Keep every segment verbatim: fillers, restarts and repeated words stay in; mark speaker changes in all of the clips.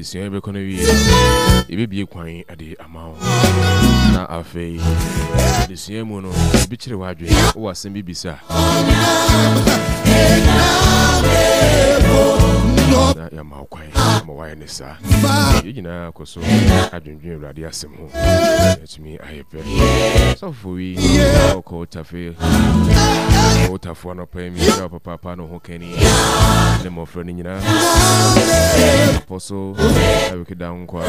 Speaker 1: Adesua yi bɛkɔ no wie, yɛbɛbie kwan de ama wo. Na afei, adesua mu no, ebi kyerɛ w'adwene, wowɔ asɛm bi bisa. Na yɛama wo kwan ama woayɛ ne saa. Yɛn nyinaa kɔ so adwendwen Awurade asɛm ho. Yɛatumi ayɛ pɛ. Sɔfo yi, ɔkɔ tafe, ɔtafoɔ anɔpa yi, mehyira wo papaapa ne ho kani ne mmɔfra no nyinaa. Apostle Eric Dankwa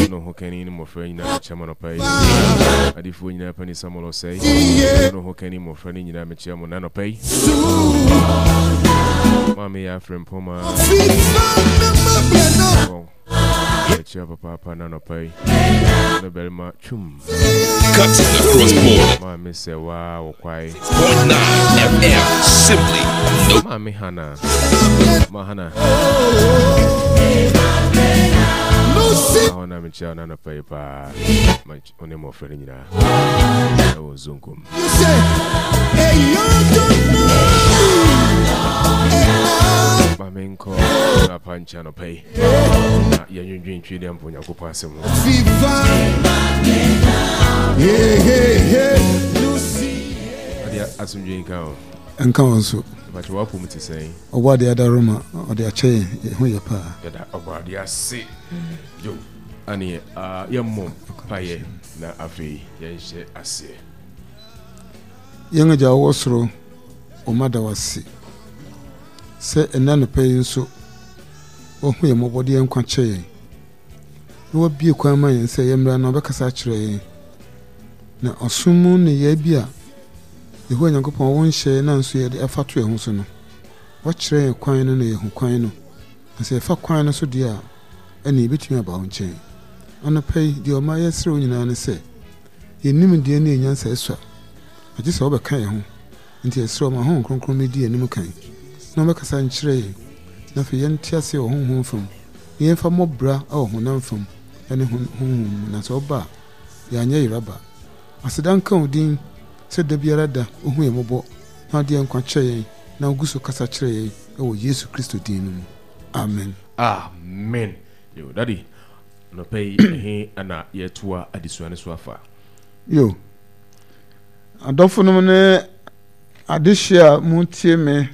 Speaker 1: ne ho kani ne mmɔfra nyinaa mekyia mo anɔpa yi. Adifoɔ nyinaa pani Samuel Osei ne ho kani mmɔfra no nyinaa mekyia mo n'anɔpa yi. Maame yɛ afrɛ mpɔma. Mekyia papaapa n'anɔpa yi. Ne barima twum.
Speaker 2: Cutting across border.
Speaker 1: Maame sɛ waa wɔ kwae.
Speaker 2: Point nine F M. Simply no.
Speaker 1: Maame Hana. Ma Hana. Ahɔ na mekyia wo n'anɔpa yi paa. Ma wo ne mmɔfra no nyinaa. Ɛwɔ Zonkom. Ma menkɔ apa nkyɛ anɔpa yi. Na yɛnwendwen twi dɛ mpo Onyankopɔn asɛm ho. Ade asomdwe nka o.
Speaker 3: Nka wɔn so.
Speaker 1: Mpakyɛ w'apom te sɛn?
Speaker 3: Ɔbɔ adeɛ adaroma ɔde akyɛ yɛn, yɛn ho yɛ paa.
Speaker 1: Yɛda ɔbɔ adeɛ ase. Yo, aneɛ uh, yɛmmɔ mpaeɛ na afei yɛnhyɛ aseɛ.
Speaker 3: Yɛn Agya a wowɔ soro, wo mma da wo ase sɛ ɛnnɛ anɔpa yi nso woahu yɛn mmɔbɔ de yɛn nkwa kyɛ yɛn na woabue kwan ma yɛn sɛ yɛmmra na wobɛkasa akyerɛ yɛn. Na ɔsom mu nneyɛe bi a Yehowa Nyankopɔn wo nhyɛe na nso yɛde afa to yɛn ho so no, woakyerɛ yɛn kwan no na yɛahu kwan no. Na sɛ yɛfa kwan no so deɛ a, ɛnneɛ yɛbɛtumi aba wo nkyɛn. Anɔpa yi, deɛ ɔma yɛsrɛ wo nyinaa ne sɛ, yɛn nimdeɛ ne yɛn nyansa sua, na gye sɛ wobɛka yɛn ho. Enti yɛsrɛ wo ma Honhom Kronkron mmɛdi yɛn anim kan, na ɔmmɛkasa nkyerɛ yɛn, na afei yɛnte aseɛ wɔ honhom fam, na yɛmfa mmɔ bra wɔ honam fam ne honhom mu, na sɛ woba a, yɛanyɛ yera ba. Aseda nka wo din sɛ da biara da wohu yɛn mmɔbɔ na wode yɛn nkwa kyɛ yɛn na wogu so kasa kyerɛ yɛn wɔ Yesu Kristo din no mu. Amen.
Speaker 1: Amen. Yo, Daddy, anɔpa yi ɛhe na yɛtoa adesua no so afa?
Speaker 3: Yo, adɔfonom ne adehye a motie me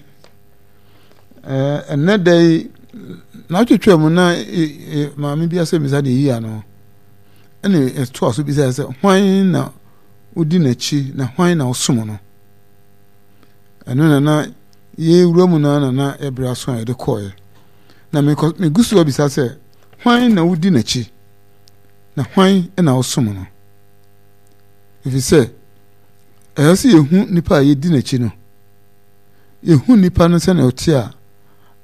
Speaker 3: ɛnnɛ da yi, n'atwetwe mu na maame bi asɛ misa de yi ano. Ɛna ɛtoa so bisa sɛ, hwan na wodi n'akyi na hwan na wosom no? Ɛno na na yɛwura mu no na na ɛbrɛ aso a yɛde kɔɔɛ. Na megu so abisa sɛ, hwan na wodi n'akyi na hwan na wosom no? Ɛfiri sɛ ɛyɛ sɛ yɛhu nipa a yɛdi n'akyi no, yɛhu nipa no sɛnea ɔte a,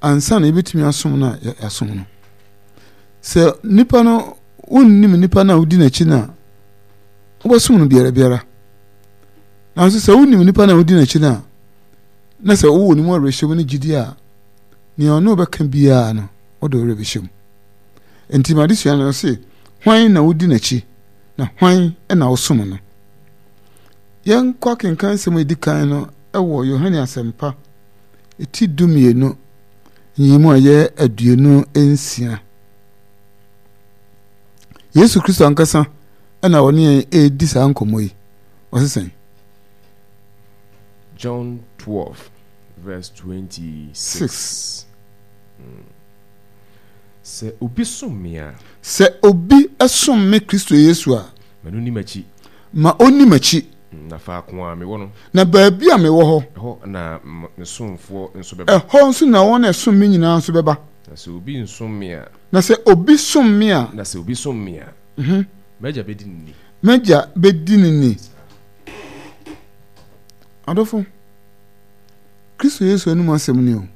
Speaker 3: ansa na yɛbɛtumi asom no a yɛasom no. Sɛ nipa no wonnim nipa no a wodi n'akyi no a, wobɛsom no biara biara. Nanso sɛ wonim nipa no a wodi n'akyi no a, na sɛ wowɔ ne mu awerɛhyɛmu ne gyidi a, nea ɔne wobɛka biara no, wode wo werɛ bɛhyɛ mu. Enti m'adesua no se, hwan na wodi n'akyi na hwan na wosom no? Yɛnkɔ akenkan nsɛm a edi kan no wɔ Yohane Asɛmpa ti dumienu nyiyimu a ɛyɛ aduonu nsia. Yesu Kristo ankasa na ɔne yɛn redi saa nkɔmmɔ yi. Ɔse sɛn?
Speaker 1: John twelve verse twenty-six. Mm. Sɛ obi som me a.
Speaker 3: Sɛ obi som me Kristo Yesu a.
Speaker 1: Ma no nni m'akyi.
Speaker 3: Ma ɔnni m'akyi.
Speaker 1: Na faako a mewɔ no.
Speaker 3: Na baabi a mewɔ hɔ.
Speaker 1: Ɛhɔ na me somfoɔ nso bɛba.
Speaker 3: Ɛhɔ nso na wɔn a ɛsom me nyinaa nso bɛba.
Speaker 1: Na sɛ obi nsom me a.
Speaker 3: Na sɛ obi som me a.
Speaker 1: Na sɛ obi som me a. M'agya bɛdi no ni.
Speaker 3: M'agya bɛdi no ni. Adɔfo, Kristo Yesu anom asɛm ni o.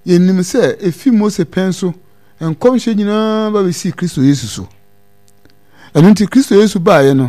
Speaker 3: Yɛnim sɛ efi Mose pɛn so nkɔmhyɛ nyinaa ba bɛsii Kristo Yesu so. Ɛno nti Kristo Yesu baeɛ no,